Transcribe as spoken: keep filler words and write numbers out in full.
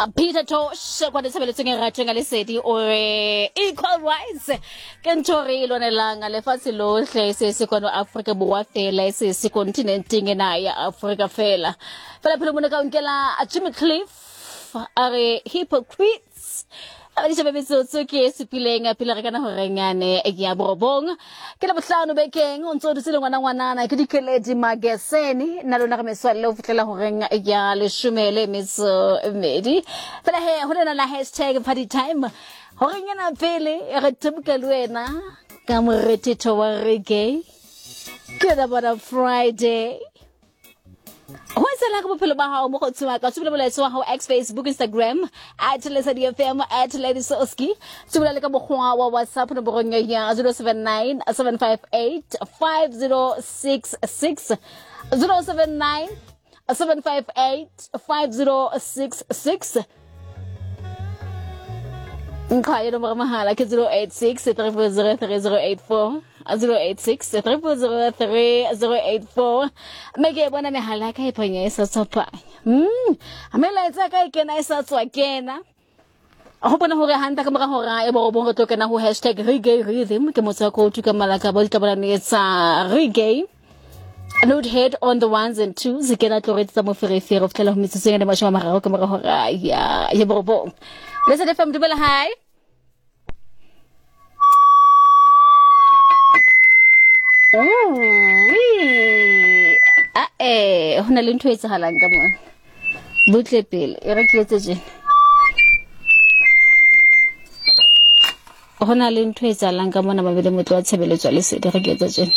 Peter Tosh kwa ditshebeletsong e ratjweng ka lesedi o re equal rights ke ntho re e lwanelang lefatshe lohle, se se kwano Afrika Borwa fela, e se se kontinenteng ena ya Afrika fela. Fela phelo mona ka nkela Jimmy Cliff a re hypocrites. Abadisha metsotso ke e supileng pele re kana horeng yane ya borobong. Ke la bohlano bekeng o ntso dutse le ngwana ngwanana ke Dikeledi Mageseni nna lona re meswalle ho fihlela horeng ya leshome le metso e mmedi. Fela he ho lena la hashtag party time horeng ena pele re thebuka le wena ka morethetho wa reggae. Ke yona bona Friday. Ho etsahalang ka bophelo ba hao mokgotsi wa ka? Tsubula molaetsa wa hao X, Facebook, Instagram at Lesedi F M at Lady Soski. Tsubula le ka mokgwa wa WhatsApp nomorong ya zero seven nine seven five eight five zero six six, zero seven nine seven five eight five zero six six. Nka ya nomoro mahala ke zero eight six three four zero three zero eight four, zero eight six three four zero three zero eight four. Mme ke bona mehala ya ka e phanya e sa tswa phanya. Mm, melaetsa ka e kena e sa tswa kena. Ho bona hore hantle ka mora hora e borobong re tlo kena ho hashtag reggae rhythm ke motswako o tuka malaka ba ditlabolane tsa reggae. Load head on the ones and twos ke na tlo re tsa moferefere ho fihlela ho metsotso e mashome a mararo ka mora hora ya ya borobong. Lesedi F M, dumela, hi. Ah eh, ho na le ntho e etsahalang ka mona. Butle pele, e re ke etse tjena. Ho na le ntho e etsahalang ka mona mabele motlo wa tshebeletso ya lesedi, re ke etse tjena.